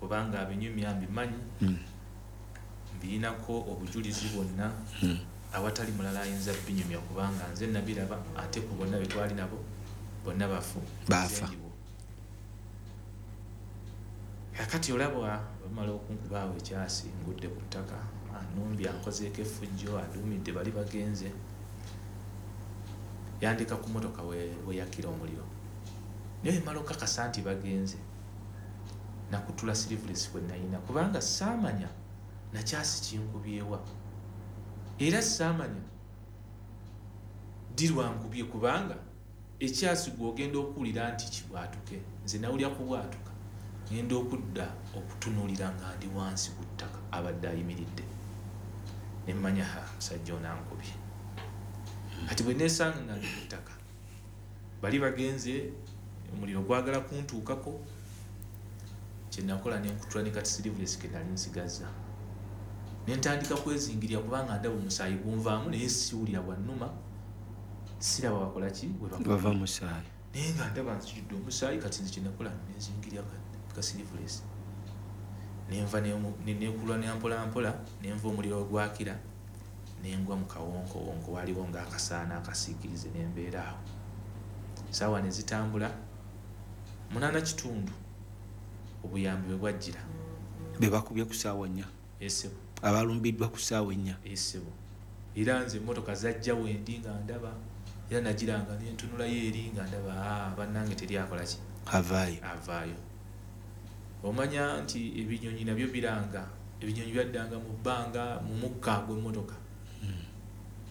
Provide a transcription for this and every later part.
Kubanga abinyumya mbimanyi, mbirinako obujulizi bwonna, awatali mulala ayinza binyumya, kubanga nze nabiraba, ate ku bonna be twali nabo bonna bafu. Baafa. Kakati olaba bamala okunkubaawo ekyasi, ngudde ku ttaka, anumbi ankozeeko effujjo, aduumidde bali bagenze, yandeka ku motoka weyakira omuliro. Naye mala okakasa nti bagenze, nakutula sleeveless kwe nayina, kubanga saamanya nakyasi kinkubyewa, era saamanya ddi lwankubye, kubanga ekyasi gw'ogenda okuwulira nti kibwatuke, nze nawulira kubwatuka, ngenda okudda okutunuulira nga ndi wansi ku ttaka, abadde ayimiridde, ne mmanya ha musajja ono ankubye. Kati bwe neesanga nga ndi ku ttaka, bali bagenze, omuliro gwagala kuntuukako, kye nakola ne nkutula ne kati sleeveless ke nali nsigazza, ne ntandika kwezingirira, kubanga ndaba omusaayi gunvaamu, naye siwulira bwannuma, siraba bakola ki, bwe bakola. Bava musaayi. Naye nga ndaba nzijudde omusaayi. Kati nze kye nakola, nenzingirira ka sleeveless, nenva nekulwa ne mpola mpola, nenva omuliro ogwakira, nengwa mu kawonkowonko, waliwo ng'akasaana akasiikirize, nembeera awo. Saawa ne zitambula 8:15, obuyambi bwe bwajjira. Be bakubye ku ssaawa 4? Esebo. Abalumbiddwa ku ssaawa 4? Esebo. Era nze emmotoka zajja wendi nga ndaba, era nagiranga nentunulayo eri nga ndaba, bannange teri akola ki, avaayo. Avaayo. Omanya nti ebinyonyi nabyo biranga, ebinyonyi byaddanga mu bbanga mu mukka gw'emmotoka,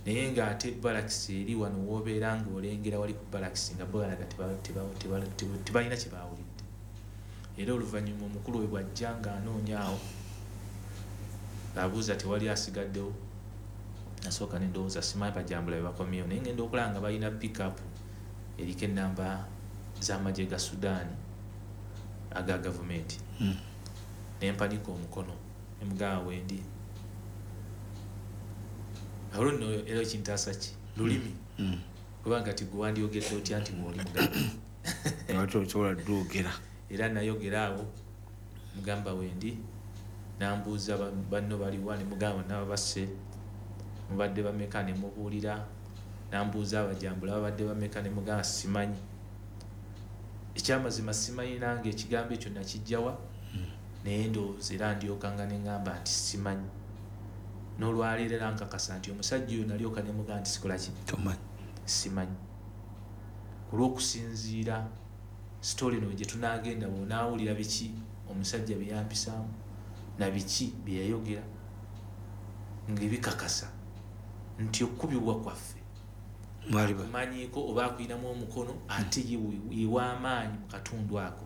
naye ng'ate balakisi eri wano w'obeera ng'olengera wali ku balakisi, nga bo balaga tebalina kye baawulidde. Era oluvannyuma omukulu we bw'ajja ng'anoonya awo, ng'abuuza tewali asigaddewo, nasooka ne ndowooza simanyi bajambula be bakomyewo, naye ngenda okulaba nga balina pickup eriko ennamba z'amagye ga Sudaani aga gavumenti. Ne mpanika omukono ne mugamba wendi. Olwo nno era ekintaasa ki lulimi, kubanga ti gwe wandyogedde otya nti bw'oli muganda? Ate osobola ddwogera. Era nayogera awo, mugamba wendi, nambuuza banno baliwa, ne mugamba nabo basse, mubadde bameka, ne mubuulira. Nambuuza abajambula babadde bameka, ne mugamba simanyi. Ekyamazima simanyi nange ekigambo ekyo nakijjawa, naye ndowooza era ndyokanga ne ŋŋamba nti simanyi. N'olwaleero era nkakasa nti omusajja oyo nalyoka ne mugamba nti sikola ki? Tomanyi. Simanyi. Olw'okusinziira story eno gye tunaagenda, bw'onaawulira biki omusajja bye yampisaamu na biki bye yayogera, ng'ebikakasa nti okukubibwa kwaffe akumanyiiko oba akuyinamu omukono, ate ye w'amaanyi mu katundu ako.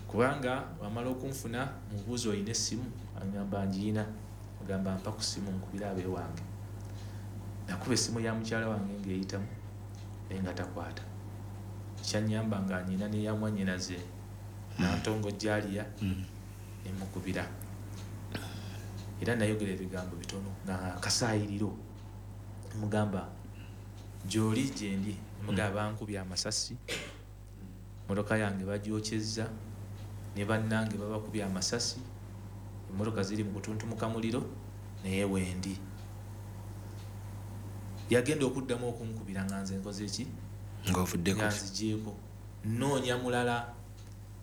Kubanga wamala okunfuna, mubuuza olina essimu, agamba ngiyina, agamba mpa ku ssimu nkubira abeewange. Nakuba essimu ya mukyala wange ng'eyitamu, naye nga takwata. Kyannyamba nga nyina n'eya mwannyinaze Nantongo Jalia, ne mukubira. Era nayogera ebigambo bitono nga kasaayiriro, mugamba gy'oli gyendi, mugamba bankubye amasasi, emmotoka yange bagyokyezza, ne bannange babakubye amasasi, emmotoka ziri mu kutuntumuka muliro, naye wendi. Yagenda okuddamu okunkubira nga nze nkoze ki? Ng'ovuddeko. Nga nzigyeko. Nnoonya mulala,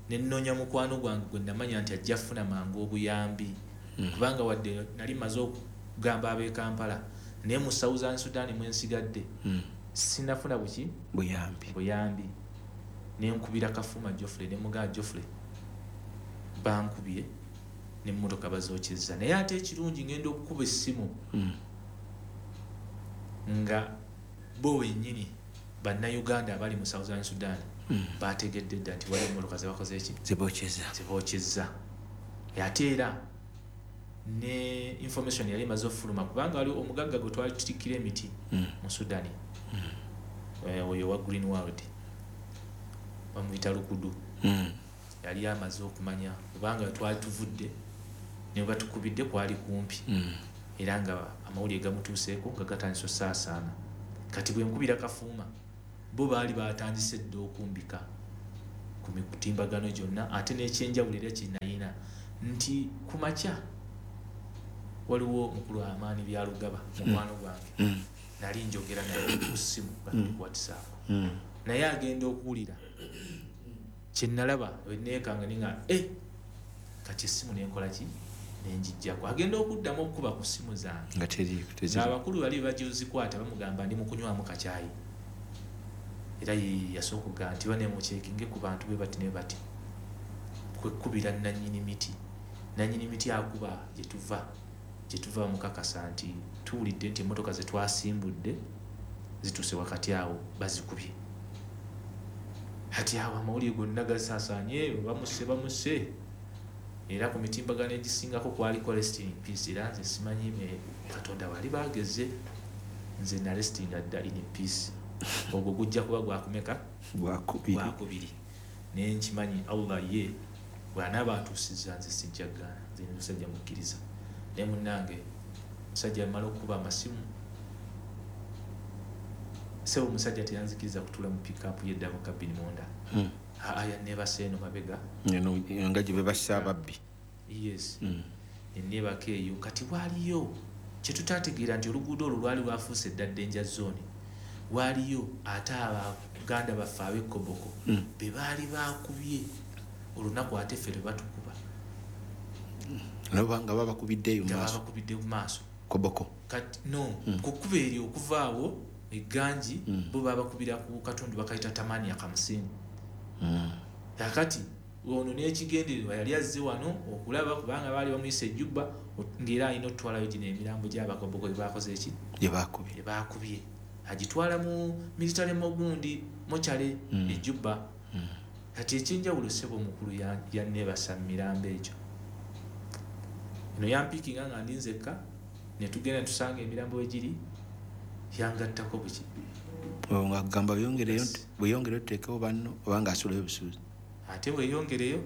ne nnoonya mukwano gwange gwe namanya nti ajja kufuna mangu obuyambi. Kubanga wadde nali mmaze okugamba ab'e Kampala, naye mu Southern Sudan mwe nsigadde, sinafuna buki? Buyambi. Buyambi. Ne nkubira Kafuma Geoffrey, ne mugamba Geoffrey bankubye n'emmotoka bazookyezza. Naye ate ekirungi ngenda okukuba essimu nga bo bennyini bannayuganda abali mu Southern Sudan bategedde dda nti waliwo emmotoka zebakoze ki? Zibookyezza. Zibookyezza. Ate era ne information yali emaze okufuluma, kubanga waliwo omugagga gwe twali tutikkira emiti mu Sudan, oyo wa Green World bamuyita Lukudu, yali amaze okumanya, kubanga twali tuvudde ne batukubidde kwali kumpi, era nga amawulire gamutuuseeko nga gatandise osaasaana. Kati bwe nkubira Kafuuma, bo baali batandise dda okumbika ku mitimbagano gyonna, ate n'ekyenjawulo era kye Kati ku makya waliwo mukulu Amaani Byalugaba, mukwano gwange, nali njogera naye ku ssimu ku WhatsApp, naye agenda okuwulira kyenalaba neekanga ninga kati essimu nenkola ki, nenjijjako. Agenda okuddamu okukuba ku ssimu zange nga abakulu bali bagizikwata bamugamba ndi mukunywamu kacyayi. Era yasooka okugamba nti banemucekinge ku bantu bwe bati ne bati, kwekubira nannyini miti. Nannyini miti akuba gye tuva mukakasa nti tuwulidde nti emmotoka ze twasimbudde zituuse wakati awo bazikubye. Kati awo amawulire gonna gasaasaanye, bamuse bamuse, era ku mitimbagano egisingako kwaliko "Rest in peace". Era nze simanyi Katonda wali bageze, nze narestinga dda in peace. Ogwo gujja kuba gwakumeka? Gwakubiri. Naye nkimanyi Allah ye bw'anaaba atuusizza, nze sijja gaana, nze ndi musajja mukkiriza. Naye munnange, musajja amala okukuba amasimu, sebo omusajja teyanzikiriza kutuula mu pickup ye double cabin munda. Aa, yanneebasa eno mabega. Nga gye bebassa ababbi. Yes. Neneebaka eyo. Kati waaliyo kyetutategeera nti oluguudo olwo lwali lwafuuse dda danger zone. Waaliyo ate abaganda baffe ab'ekoboko be baali bakubye olunaku ate ffe lwe batukuba. Nabo nga babakubiddeeyo nga maaso. Babakubidde mu maaso. Koboko. Kati no ku kkubo eryo okuva awo egganji, bo babakubira ku katundu bakayita Tamania Kamusini. Kakati ono n'ekigendererwa yali azze wano okulaba, kubanga baali bamuyisa ejjubba ng'era alina okutwalayo gino emirambo gy'abakoboko gye bakoze eki? Gye bakubye. Gye bakubye, agitwala mu military mogundi mochale ejjubba. Kati ekyenjawulo, ssebo omukulu, yanneebasa mu mirambo egyo. Eno yampiikinga nga ndi nzekka, ne tugenda ne tusanga emirambo we giri, yangattako buki. Nga kugamba bweyongereyo, bweyongereyo tuteekewo banno, oba nga asulayo busuuzi. Ate bweyongereyo,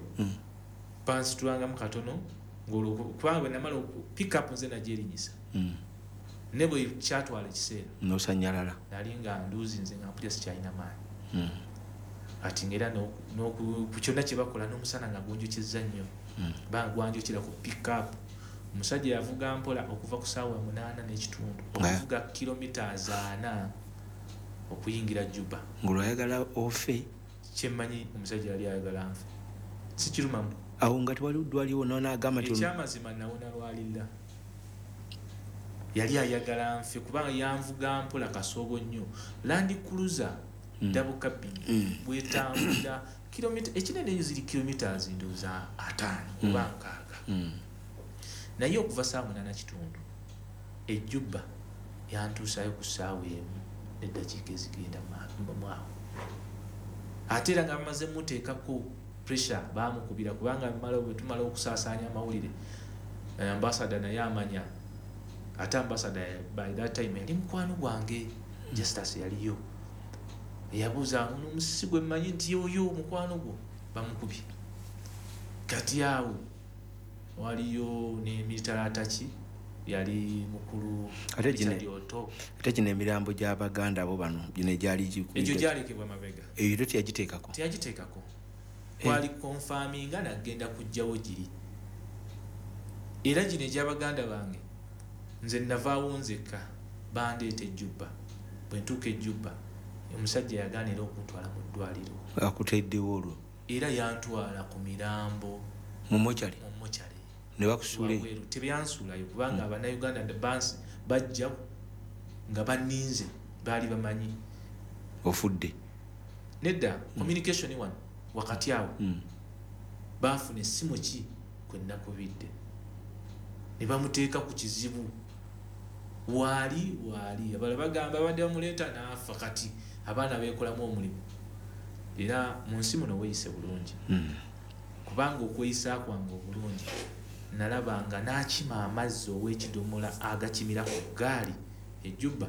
bansitulangamu katono ng'olwo, kubanga bwe namala pickup nze nagyerinyisa, ne bwe kyatwala ekiseera nosanyalala. Nali nga nduuzi nze nga mpulira sikyalina maanyi. Kati ngaera ku kyonna kye bakola n'omusana nga gunjokeza nnyo, gwanjokera ku pickup. Omusajja yavuga mpola okuva ku saawa 8:30 okuvuga kilometers 4 okuyingira Juba. Ng'olwayagala ofe. Kyemmanyi omusajja yali ayagala nfe, sikirumamu. Awo nga tewali ddwaliwo nonaagamba nti Ekyamazima nawona lwalira. Yali ayagala nfe kubanga yanvuga mpola kasoobo nnyo. Land Cruiser double cabin bwetambulira kilomita ekinene eyo ziri kilometers ndowooza 50 oba 60, naye okuva saawa 8:15 ejjubba yantuusayo ku ssaawa 1 n'eddakiika ezigenda mwawo. Ate era nga bamaze muteekako pressure, bamukubira kubanga bwe tumala okusaasaanya amawulire, ambasada naye amanya. Ate ambasada by that time yali mukwano gwange Justus, yaliyo, yabuuza ono omusisi gwe mmanyi nti oyo mukwano gwo bamukubye. Kati awo waliyo ne military attaché yali mukulu Ate Richard Oto. Ate gino emirambo gy'abaganda abo bano gino egyali Egyo gyalekebwa mabega. Eyo to teyagiteekako? Teyagiteekako. Kwali confirminga nagenda kujjawo giri. Era gino egy'abaganda bange, nze navaawo nzekka, bandeeta ejjubba. Bwe ntuuka ejjubba, omusajja yagaanira okuntwala mu ddwaliro. Akuteddewo olwo? Era yantwala ku mirambo. Mu mochari? Mu mochari. Ne bakusuula eyo? Wabweru. Tebyansuulayo kubanga abannayuganda bansi bajja nga banninze, baali bamanyi. Ofudde? Nedda, communication wano wakati awo, baafuna essimu ki kwe nakubidde ne bamuteeka ku kizibu. Waali waali abalala bagamba babadde bamuleeta n'afa. Kati abaana beekolamu omulimu. Era mu nsi muno weeyise bulungi, kubanga okweyisa kwange obulungi nalaba nga n'akima amazzi ow'ekidomola agakimira ku ggaali ejjubba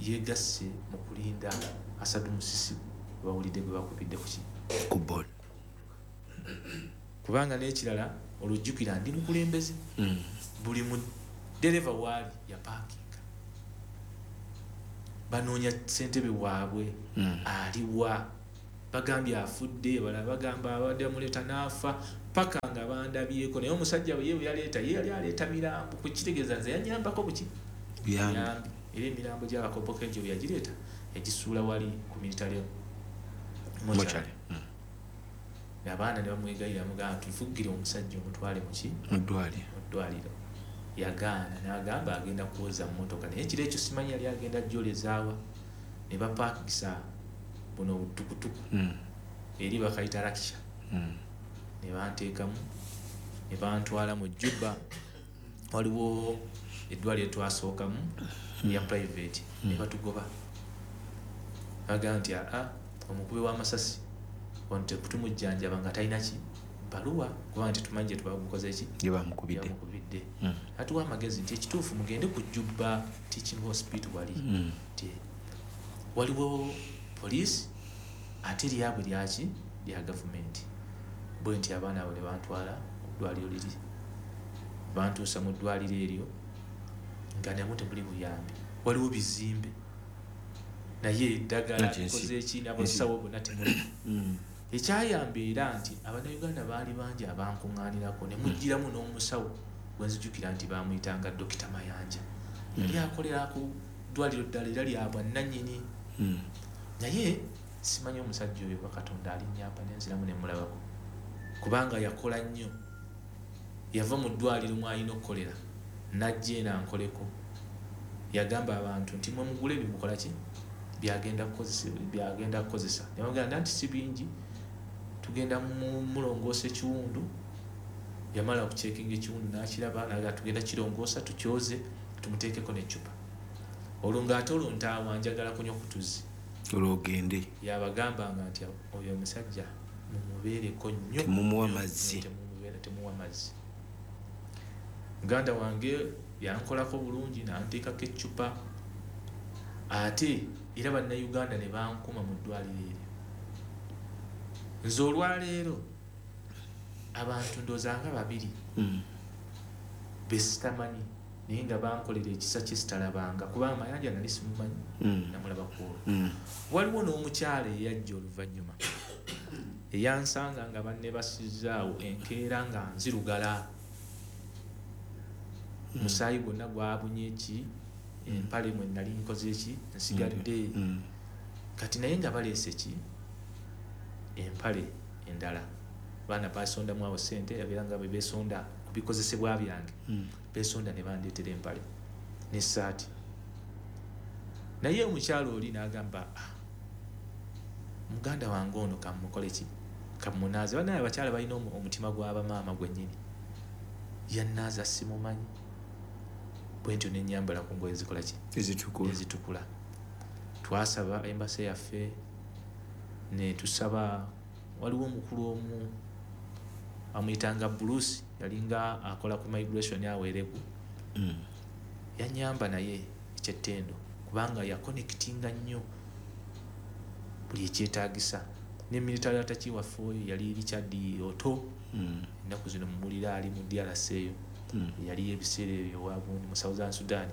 yeegasse mu kulinda Asadu Musisi bawulidde gwe bakubidde ku ki? Ku boda. Kubanga n'ekirala olujjukira ndi mukulembeze, buli mu dereva waali yapaakinga banoonya ssentebe waabwe. Aliwa? Bagambye afudde, balala bagamba abadde bamuleeta n'afa. Paka nga bandabyeko. Naye omusajja ye bwe yaleeta, ye yali aleeta mirambo, kukitegeeza nze yanyambako buki Buyambi. Era emirambo gy'abakopoka egyo bwe yagireeta, yagisuula wali ku military mortuary. Mortuary. Abaana ne bamwegayirira, mugamba tuvugire omusajja omutwale muki? Mu ddwaliro. Mu ddwaliro. Yagaana, n'agamba agenda kwoza mmotoka, naye ekiro ekyo simanyi yali agenda jolezaawa, ne bapaakisa buno obutukutuku eri bakayita rakisha, ne banteekamu ne bantwala mu Juba. Waliwo eddwaliro twasookamu ya private, ne batugoba, bagamba nti aa, omukubi w'amasasi wano tetumujjanjaba nga talina ki baluwa, kubanga tetumanyi gye tubamukoze ki. Gye bamukubidde. Yamukubidde. Atuwa amagezi nti ekituufu mugende ku Juba Teaching Hospital, wali nti waliwo poliisi, ate lyabwe lyaki, lya gavumenti. Bwe nti abaana abo ne bantwala ku ddwaliro liri, bantuusa mu ddwaliro eryo nga namwe temuli buyambi, waliwo bizimbe naye eddagala Anti likoze eki, n'abasawo bonna temuli. Ekyayamba era nti Abannayuganda baali bangi abankuŋŋaanirako, ne mugiramu n'omusawo gwe nzijukira nti bamuyitanga Dokita Mayanja, yali akolera ku ddwaliro ddala era lya bwannannyini. Naye simanyi omusajja oyo oba Katonda alinnyamba nenziramu ne mulabako, kubanga yakola nnyo. Yava mu ddwaliro mw'alina okukolera n'ajja eno ankoleko. Yagamba abantu nti mwe mugule bimukola ki byagenda kukozesa, byagenda kukozesa. Ne bamugamba nti si bingi, tugenda mulongoosa ekiwundu. Yamala okucekinga ekiwundu n'akiraba, n'agamba tugenda kirongoosa, tukyoze, tumuteekeko n'eccupa. Olwo ng'ate olwo ntaawa njagala kunywa ku tuzzi. Olwo ogende. Yabagambanga nti oyo omusajja mumubeereko nnyo. Temumuwa mazzi. Temumuwa mazzi. Muganda wange yankolako bulungi n'anteekako eccupa, ate era Bannayuganda ne bankuma mu ddwaliro eryo. Nze olwaleero abantu ndowooza nga babiri besitamanyi, naye nga bankolera ekisa kye sitalabanga, kubanga Mayanja nali simumanyi, namulaba ku olwo. Waliwo n'omukyala eyajja oluvannyuma eyansanga nga bannebasizaawo enkeera nga nzirugala, musaayi gwonna gwabunye ki empale mwe nali nkoze ki nsigadde. Kati naye nga baleese ki empale endala, baana basondamu awo ssente, yabeera nga bwe beesonda ku bikozesebwa byange, beesonda ne bandeetera empale n'essaati. Naye omukyala oli n'agamba, ah, muganda wange ono kammukole ki, kammunaaze. Bannaye abakyala balina omutima gw'abamaama gwennyini. Yannaaza simumanyi, bwe ntyo ne nnyambala ku ngoye zikola ki? Ezitukula. Ezitukula. Twasaba embasi yaffe ne tusaba, waliwo omukulu omu amuyitanga Bruce, yalinga akola ku migration awo Elegu. Yannyamba naye ekyettendo, kubanga yakonectinga nnyo buli ekyetaagisa. Ne military attaché waffe oyo yali Richard Otto, ennaku zino mumulira ali mu DRC eyo, yali ebiseera ebyo wagundi mu Southern Sudan.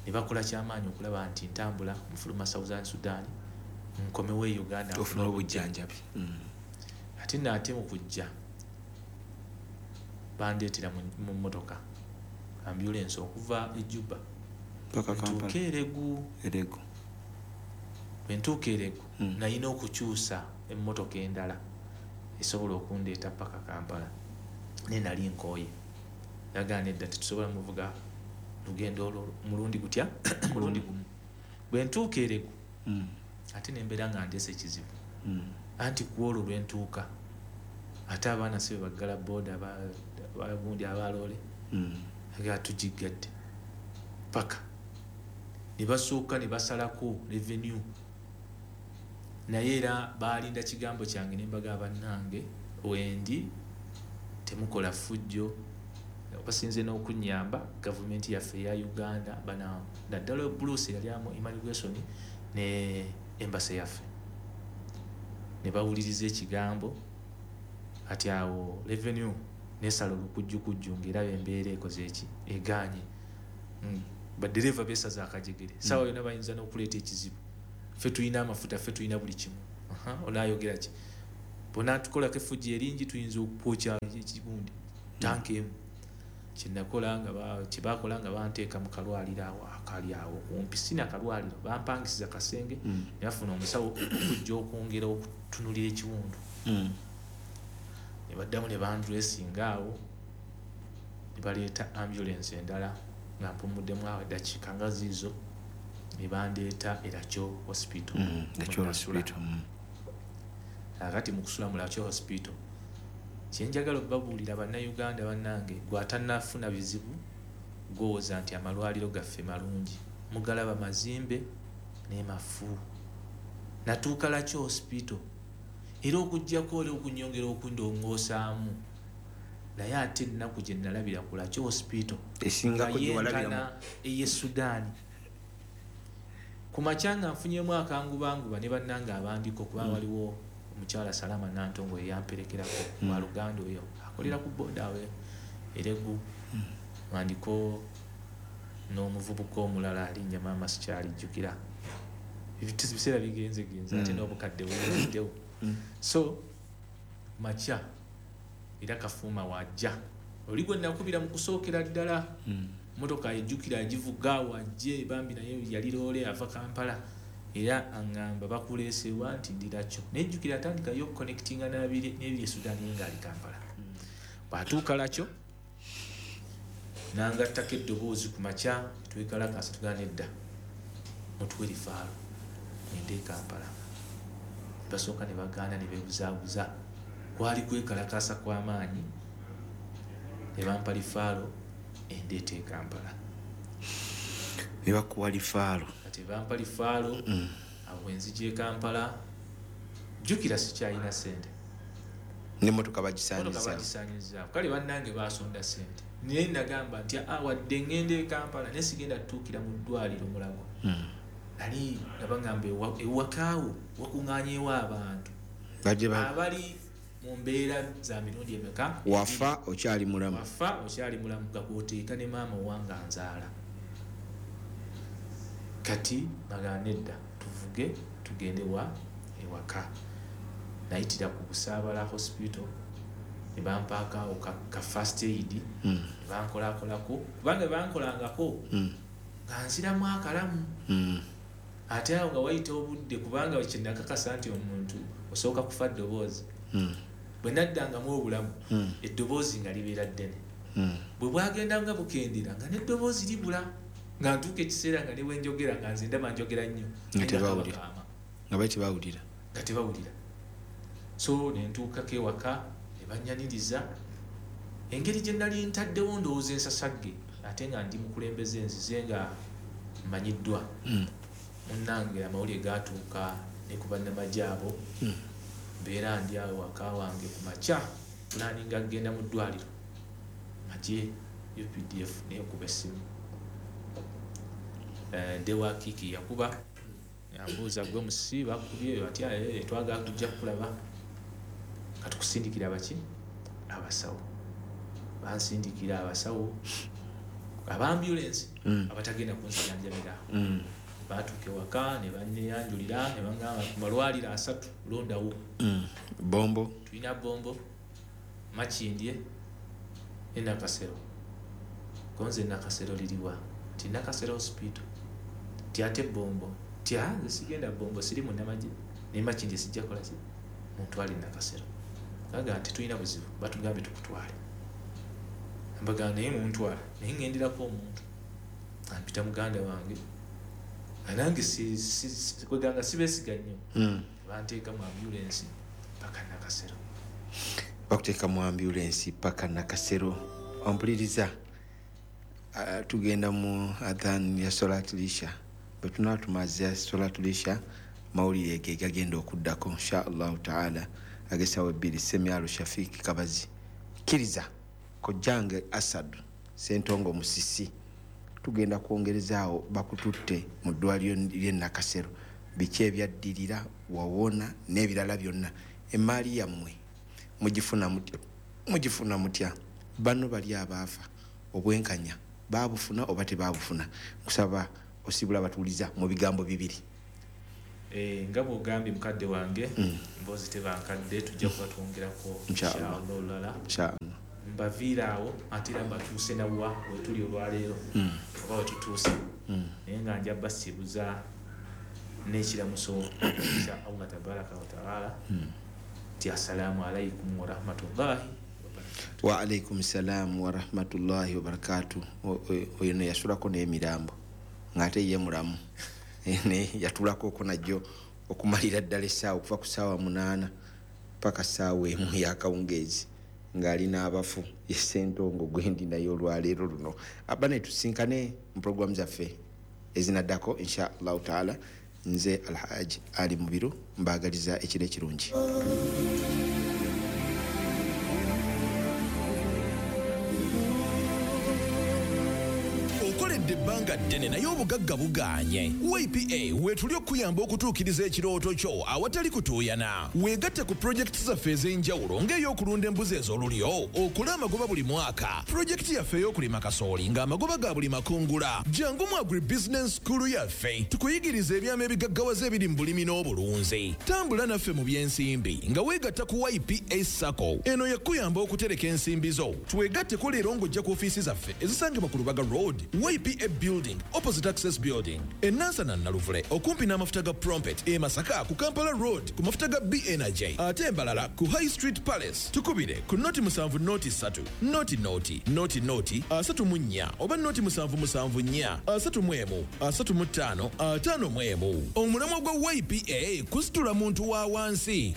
Ne bakola kyamaanyi okulaba nti ntambula nfuluma Southern Sudan nkomewo e Uganda ofune obujjanjabi. Ate nno ate mu kujja bandeetera mu mmotoka ambulance okuva e Juba paka Kampala. Ntuuke Elegu. Elegu. Bwe ntuuka Elegu, nalina okukyusa emmotoka endala esobola okundeeta paka Kampala, naye nali nkooye. Yagaana nedda, tetusobola muvuga lugendo olwo mulundi gutya, mulundi gumu. Bwe ntuuka Elegu, ate ne mbeera nga ndeese ekizibu. Anti ku olwo lwe ntuuka, ate abaana si be baggala booda, abagundi abaloole, aga tugiggadde paka ne basooka ne basalako revenue. Naye era baalinda kigambo kyange ne mbaga, bannange wendi temukola ffujjo, basinze n'okunnyamba gavumenti yaffe eya Uganda, bana naddala Bruce yali amu immigration ne embassy yaffe, ne bawuliriza ekigambo. Kati awo revenue nesala olukujjukujju ng'eraba embeera ekoze eki, egaanye. Badereva beesaza akajegere, saawa yonna bayinza n'okuleeta ekizibu, ffe tulina amafuta, ffe tulina buli kimu. Onaayogera ki? Bonatukolako effujjo eringi, tuyinza okwokya ekigundi tanka emu. Kyenakola nga kyebakola nga banteeka mu kalwaliro awo akali awo kumpi, sina kalwaliro, bampangisiza kasenge ne bafuna omusawo okujja okwongera okutunulira ekiwundu. Ne baddamu ne bandressinga awo, ne baleeta ambulance endala nga mpumuddemu awo eddakiika nga ziizo, ne bandeeta e Lakyo Hospital. Lakyo Hospital. Kakati mu kusula mu Lakyo Hospital, kyenjagala okubabuulira Bannayuganda bannange, gwe atannafuna bizibu gw'owooza nti amalwaliro gaffe malungi, mugalaba mazimbe ne mafu. Natuuka Lakyo Hospital era okuggyako oli okunyongera okundongoosaamu, naye ate ennaku gye nalabira ku Lakyo Hospital esingako nga gye walabira yenkana ey'e Sudaani. Ku makya nga nfunyemu akangubanguba ne bannange abandiko, kuba waliwo omukyala Salama Nantongo eyamperekerako, wa Luganda oyo akolera ku boda awo Eregu, nga ndiko n'omuvubuka omulala alinnya maama sikyalijjukira. Ebiseera bigenze genze ate n'obukadde buyingiddewo. So makya era Kafuuma wajja oli gwe nakubira mu kusookera ddala, motoka ejjukira agivuga wajje bambi, naye yali loole ava Kampala, era aŋŋamba bakuleesewa nti ndirakyo. Nejjukira atandikayo okuconnectinga n'ebiri e Sudan, ye ng'ali Kampala. Bw'atuuka Lakyo n'angattako eddoboozi ku makya, twekalakaasa tugamba nedda, mutuwe referral ngende e Kampala. Basooka ne bagaana ne beebuzaabuza, kwali kwekalakaasa kw'amaanyi, ne bampa referral endeeta e Kampala. Ne bakuwa referral. Kati bampa referral, awo nzija e Kampala, jjukira sikyalina ssente. N'emmotoka bagisaanyizaawo. Emmotoka bagisaanyizaawo. Kale bannange baasonda ssente. Naye nagamba nti, wadde ŋŋenda e Kampala, naye sigenda kutuukira mu ddwaliro Mulago. Nali nga baŋŋamba ewakaawo wakuŋŋaanyeewo abantu. Bajje abali mu mbeera za mirundi emeka? Wafa okyali mulamu. Wafa okyali mulamu, nga gw'oteeka ne maama owange anzaala. Kati bagamba nedda, tuvuge tugende wa ewaka. Nayitira ku Busaabala Hospital ne bampaako awo ka first aid, ne bankolakolako, kubanga bankolangako nga nziramu akalamu. Ate awo nga wayita obudde, kubanga kye nakakasa nti omuntu osooka kufa ddoboozi. Bwe naddangamu obulamu, eddoboozi nga libeera ddene. Bwe bwagendanga bukendera nga n'eddoboozi libula, nga ntuuka ekiseera nga ne bwe njogera nga nze ndaba njogera nnyo. Nga tebawulira. Nga Nga bali tebawulira. Nga tebawulira. So ne ntuukako ewaka ne bannyaniriza. Engeri gye nali ntaddewo ndowooza ensasagge, ate nga ndi mukulembeze nzize nga mmanyiddwa. Munnange amawulire gaatuuka ne ku bannamagye abo. Mbeera ndi awo waka wange ku makya, pulaninga kugenda mu ddwaliro. Magye UPDF neekuba essimu. Ndewa Kiki yakuba, yambuuza gwe musi bakubye atya, twagala kujja kukulaba. Katukusindikira baki? Abasawo. Bansindikira abasawo aba ambulance abatagenda kunzijanjabira. Baatuuka ewaka ne banneeyanjulira ne bangamba ku malwaliro 3 londawo. Bombo. Tulina Bombo, Makindye ne Nakasero. Konze Nakasero liriwa? Ti Nakasero Hospital. Ti ate Bombo. Ti nze sigenda Bombo, siri munnamagye. Ne Makindye sijja kukola ki? Muntwale Nakasero. Bagamba nti tulina buzibu, batugambye tukutwale. Mbagamba naye muntwala, naye ŋŋenderako omuntu. Ampita muganda wange. Nange kweganga sibeesiga nnyo. Banteeka mu ambulance paka Nakasero. Bakuteeka mu ambulance paka Nakasero. Ompuliriza, tugenda mu adhan ya Solat Lisha. Bwe tunaba tumaze Solat Lisha, mawulire ge gagenda okuddako insha Allahu taala ag'essaawa 2. Semyalo Shafiq Kabazi, kkiriza kojjange Asad Ssentongo Musisi, tugenda kwongerezaawo bakututte mu ddwaliro ly'e Nakasero, biki ebyaddirira, wawona n'ebirala byonna. Emmaali yammwe mugifuna mutya? Bano bali abaafa obwenkanya baabufuna oba tebaabufuna? Nkusaba osibula abatuuliza mu bigambo bibiri. Nga bw'ogambye mukadde wange, mboozi teba nkadde, tujja kuba twongerako Inshallah. inshallah olulala. Inshallah. Mbaviira awo, ate era mbatuuse nawa wetuli olwaleero, oba wetutuuse, naye nga nja basiibuza n'ekiramuso kya Allah tabaraka wataala nti assalaamu alaikum warahmatullahi wabarakatuh. Wa alaikum salam warahmatullahi wabarakatuh. Oyo no yasulako n'emirambo ng'ate ye mulamu, ne yatulako ko najjo okumalira ddala essaawa, okuva ku ssaawa 8 paka ssaawa 1 y'akawungeezi ng'alina abafu. Ye Ssentongo gwendi naye olwaleero luno. Abane tusinkane mu programu zaffe ezinaddako insha Allahu taala. Nze Alhaji Ali Mubiru mbaagaliza ekiro ekirungi. Okoledde ebbanga ddene naye obugagga bugaanye. YPA weetuli okuyamba okutuukiriza ekirooto kyo awatali kutuuyana. Weegatte ku pulojekiti zaffe ez'enjawulo ng'ey'okulunda embuzi ez'olulyo, okola amagoba buli mwaka, pulojekiti yaffe ey'okulima kasooli ng'amagoba ga buli makungula. Jangu mu agribusiness school yaffe tukuyigiriza ebyama ebigaggawaza ebiri mu bulimi n'obulunzi. Tambula naffe mu by'ensimbi nga weegatta ku YPA SACCO. Eno yakuyamba okutereka ensimbi zo. Twegatteko leero ng'ojja ku ofiisi zaffe ezisangibwa ku Lubaga Road, YPA Building, opposite Access Building, e Nansana Naluvule, okumpi n'amafuta ga Prompet, e Masaka ku Kampala Road ku mafuta ga B Energy, ate Mbarara ku High Street Palace. Tukubire ku 0 7 0 3 0 0 0 0 34 oba 0 7 7 4 31 35 51. Omulamwa gwa YPA kusitula muntu wa wansi.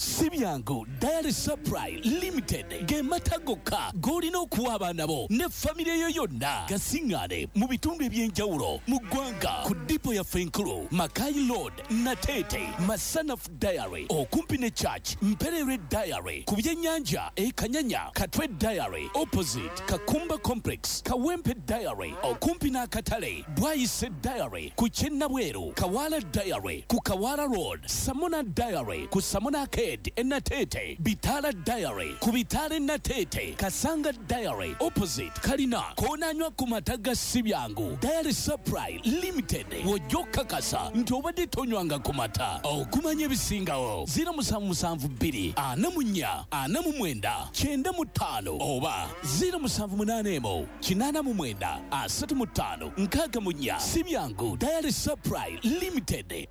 Si byangu Dairy Supply Limited ge mata gokka g'olina okuwa abaana bo ne famire yo yonna. Gasiŋŋaane mu bitundu eby'enjawulo mu ggwanga ku dipo yaffe enkulu Makai Road, Nateete, Masanaf Dairy okumpi ne Church, Mperere Dairy ku byennyanja e Kanyanya, Katwe Dairy opposite Kakumba Complex, Kawempe Dairy okumpi n'akatale, Bwayise Dairy ku Kyennabweru, Kawala Dairy ku Kawala Road, Samona Dairy ku Samona Arcade Enatete, Bitala Dairy ku Bitale Natete, Kasanga Dairy opposite Kalina, konanywa ku mata ga si byangu Dairy Supply Limited. Wojja okukakasa nti obadde tonywanga ku mata. Okumanya ebisingawo 0772 44 49 95 oba 0781 89 35 64. Si byangu Dairy Supply Limited.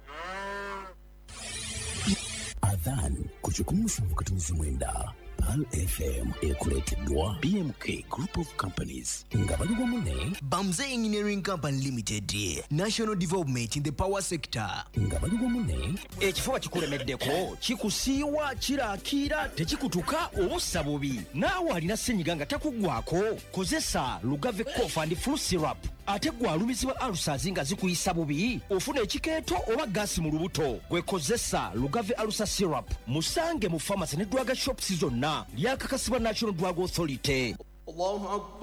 Adhan ku 179 Pearl FM ekuleeteddwa BMK Group of Companies nga bali wamu ne Bamze Engineering Company Limited, National Development in the Power Sector. Nga bali wamu ne Ekifuba kikulemeddeko, kikusiiwa, kirakiira, tekikutuka obussa bubi. Naawe alina ssenyiga nga takuggwako, kozesa Lugave Cough and Flu Syrup. Ate gwe alumizibwa ulcers nga zikuyisa bubi, ofuna ekikeeto oba gaasi mu lubuto, gwe kozesa Lugave Ulcer Syrup. Musange mu pharmacy ne drug shops zonna. Lyakakasibwa National Drug Authority. Allahu Akbar.